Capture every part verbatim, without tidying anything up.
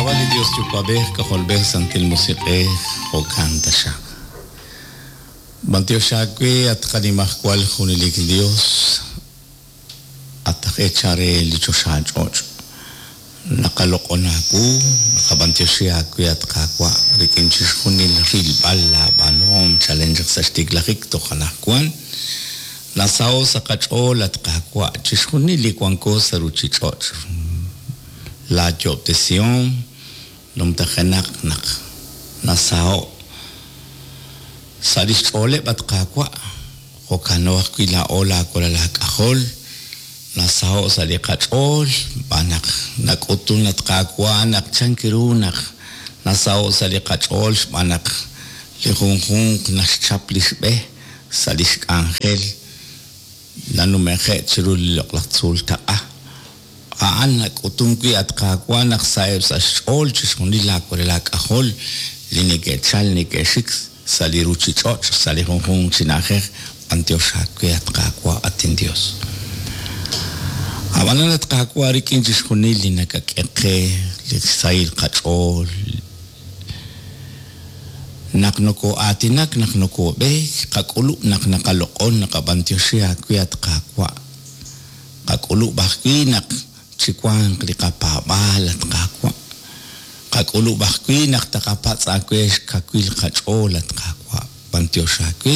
Xk'ab'a' li Dios Yuwa'b'ej, K'ajolb'ej, Santil Musiq'ej, jo'kan taxaq. B'antiox aawe at qanimajwal junelik Dios, at aj eechal re li choxa ch'och'. Naqaloq'on aawu, naqab'antioxi aawe at Qaawa' rik'in chixjunil rilb'al laab'aanuhom chalen chaq sa' xtiklajik toj anaqwan. Nasaho' sa' qach'ool at Qaawa' chixjunil li wanko sa' ruchich'och'. Laayob'tesihom numtajenaq naq nasaho' sa' lix ch'ooleb' at Qaawa' jo'kano ajwi' laa'o laawalal laak'ajol nasaho' sa' li qach'ool xb'aan naq nak'utun at Qaawa' naq chank ru naq nasaho' sa' li qach'ool xb'aan naq li junjunq naxchap li xb'e sa' lix k'anjel nanumeje' chiru li loq'laj tzuul taq'a. A'an nak'utun wi' at Qaawa' naq sa'eb' sa' xch'ool chixjunil laawalal laak'ajol li neke'chal neke'xik sa' li ruchich'och' sa' li junjunq chi na'ajej b'antiox aawe at Qaawa' at inDios. Ab'anan at Qaawa' rik'in chixjunil li nakak'e qe li sahil qach'ool naq nokoo'aatinak naq nokoob'eek qak'ulub' naq naqaloq'on naqab'antioxi aawe at Qaawa' qak'ulub' ajwi' naq chiwanq li qapaab'aal at Qaawa' qak'ulub' ajwi' naq taqapatz' aawe xkawil qach'ool at Qaawa' b'antiox aawe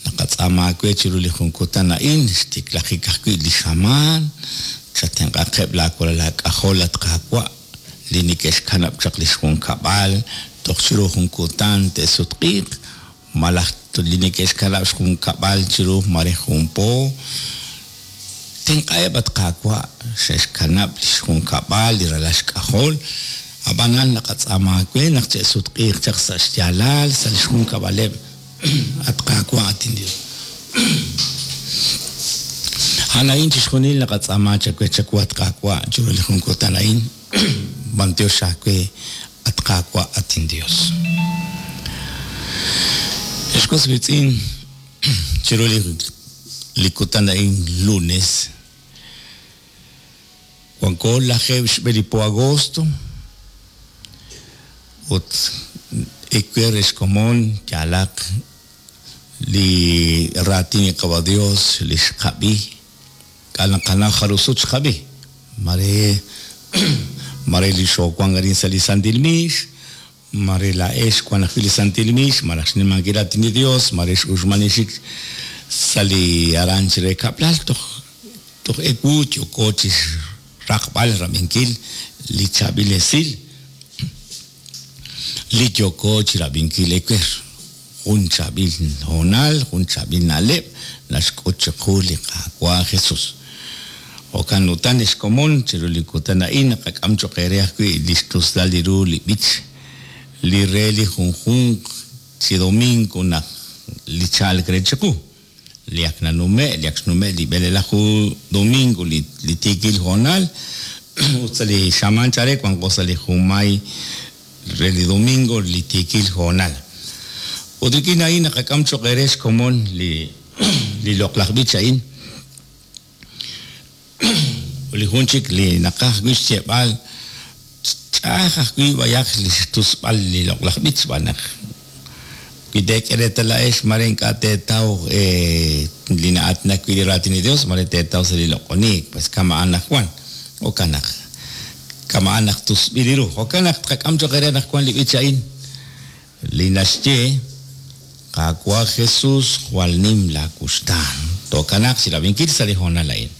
naqatz'aama aawe chiru li jun kutan a'in xtiklajik ajwi' li xamaan chatenq'aqeb' laawalal laak'ajol at Qaawa' li neke'xkanab' chaq li xjunkab'al toj chiru jun kutan te'sutq'iiq malaj li neke'xkanab' xjunkab'al chiru mare jun po tenq'aheb' at Qaawa' xe'xkanab' li xjunkab'al li ralal xk'ajol ab'anan naqatz'aama aawe naq che'sutq'iiq chaq sa' xyaalal sa' li xjunkab'aleb' at Qaawa' at inDios. A'an a'in chixjunil naqatz'aama chawe chawu at Qaawa' chiru li jun kutan a'in b'antiox aawe at Qaawa' at inDios. Ex was wiitz'in chiru li li kutan a'in lunes wanko lajeeb' xb'e li po agosto ut ewer xkomon yalaq li raatin li Qaawa' Dios li xqab'i k'anaqana jarusut xqab'i mare mare li xoowank arin sa' li Santil Miix mare laa'ex wan ajwi' li Santil Miix malaj xnimankil raatin li Dios mare x'uxmanixik sa' li aran chire kab'lal toj toj ewu yooko chi raqb'al rab'inkil li chaab'il esil li yooko chi rab'inkil ewer jun chaab'il hoonal jun chaab'il na'leb' naxk'ut chiqu li Qaawa' Jesus. Jo'kan utan xkomon chiru li kutan a'in naqak'am cho'q eere ajwi' li xtuslal li ru li b'ich li re li junjunq chi domingo naq li chalk re chiqu li ak nanume' li ak xnume' li b'elelaju domingo li li tiikil hoonal ut sa' li xamaan chare wanko sa' li junmay re li domingo li tiikil hoonal. Ut rik'in a'in naqak'am cho'q eere xkomon li li loq'laj b'ich a'in li jun chik li naqaj wi' xyeeb'al ch'a'aj ajwi' b'ayaq li xtusb'al li loq'laj b'ich xb'aan naq wi teek'e reetal laa'ex mare ink'a' teetaw li na'aatinak wi' li raatin li Dios mare teetaw sa' li loq'oniik pues kama'an naq wan jo'kan naq kama'an naq tusb'il li ru jo'kan naq tqak'am cho'q eere naq wan li b'ich a'in li naxye Qaawa' Jesus jwal nim laawuxtaan to'kanaq chi rab'inkil sa' li hoonal a'in.